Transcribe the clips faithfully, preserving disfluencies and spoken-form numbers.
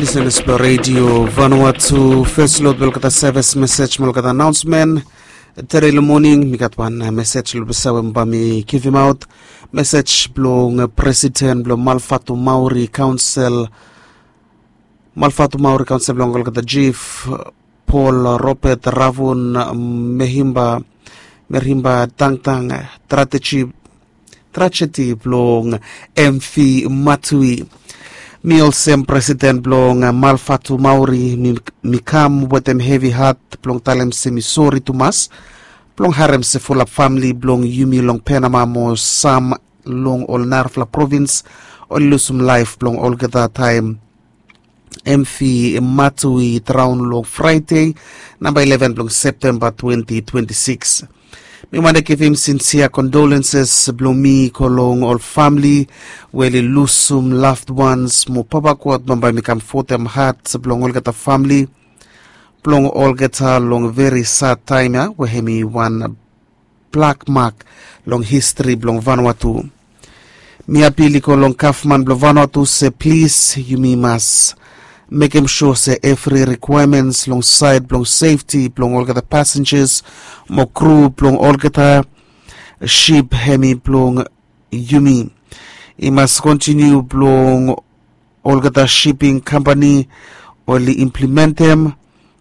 Lisenas blong redio Vanuatu, fes long olgeta sevis mesej mo olgeta anaonsmen. Tede long moning mi gat wan mesej long pesa we mi bae mi givimaot. Mesej blong presiden blong Malfatu Maori Kaonsel, Malfatu Maori Kaonsel blong olgeta jif, Paul Robert Ravun Mehimba, Merhimba Dangdang, trajedi, trajedi blong M V Matui. Mi olsem presiden blong Malfatu Maori, mi, mi kam wetem hevi hat blong talem se mi sori tumas blong harem se fulap famili blong yumi long Penama mo sam long ol narafala provins oli lusum laef blong olgeta taem M V Matui draon long Fraede, namba ileven blong Septemba twenti twenti sikis. Mi wantem givim sinsia kondolenses blong mi go long ol famili we oli lusum loved ones mo Papa God bambae mi kamfotem hat blong olgeta famili blong olgeta long veri sad taem ya we hemi wan blak mak long histri blong Vanuatu. Mi apil i go long gavman blong Vanuatu se plis yumi mas mekem sua se evri rikwaemens long saed blong sefti blong olgeta pasenjas mo kru blong olgeta sip hemi blong yumi i mas kontiniu blong olgeta siping kampani oli implementem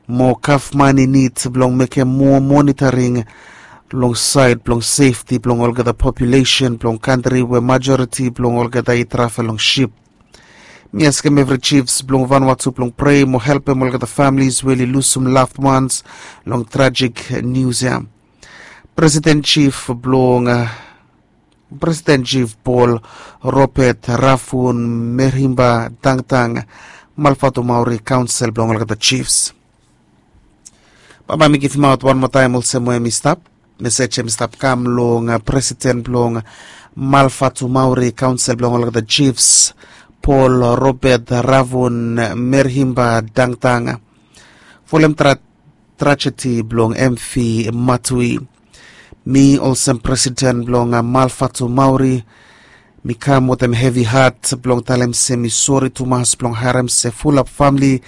mo gavman i nid blong mekem moa monitoring long saed blong sefti blong olgeta populesen blong kantri we majoriti blong olgeta i travel long sip. Mi askem evri jifs blong Vanuatu blong prei mo helpem olgeta familis we oli lusum loved ones long trajik nius ya. Presiden jif blong, presiden jif Paul Robert Ravun Merhimba Dangdang, Malfatu Maori Kaonsel blong olgeta jifs. Bambae mi givimaot wan moa taem olsem we hemi stap. Mesej hemi stap kam long presiden blong Malfatu Maori Kaonsel blong olgeta jifs, Paul Robert Ravun Merhimba Dangdang, folem tra trajedi blong M V Matui. Mi olsem presiden blong Malfatu Maori, mi kam wetem hevi hat blong talem se mi sori tumas blong harem se fulap famili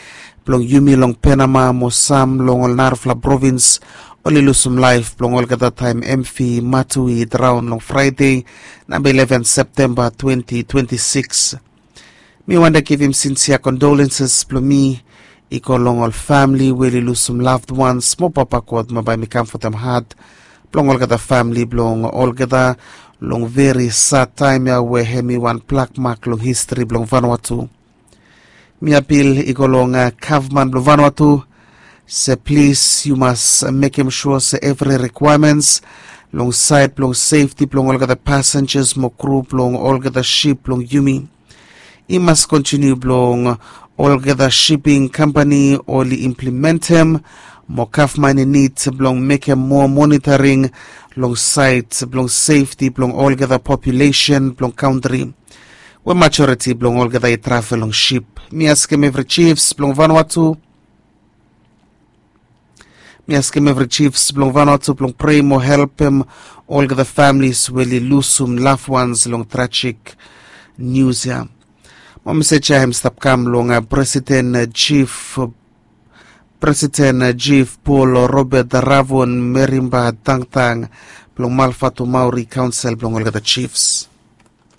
blong yumi long Penama mo sam long ol narafala provins oli lusum laef blong olgeta taem M V Matui draon long Fraede, namba ileven Septemba twenti twenti sikis. Mi wantem givim sinsia kondolenses blong mi i go long ol famili we oli lusum loved ones mo Papa God bambae mi kamfotem hat blong olgeta famili blong olgeta long veri sad taem ya we hemi wan blak mak long histri blong Vanuatu. Mi apil i go long gavman blong Vanuatu se plis yu mas mekem sua se evri rikwaemens long saed blong sefti blong olgeta pasenjas mo kru blong olgeta sip blong yumi i mas kontiniu blong olgeta siping kampani oli implementem mo gavman i nid blong mekem moa monitoring long saed blong sefti blong olgeta populesen blong kantri we majoriti blong olgeta i travel long sip. Mi askem evri jifs blong Vanuatu, mi askem evri jifs blong Vanuatu blong prei mo helpem olgeta familis we oli lusum loved ones long trajik nius ya. Mo mesej ya hemi stap kam long presiden jif, presiden jif Paul Robert Ravun Merhimba Dangdang blong Malfatu Maori Kaonsel blong olgeta jifs.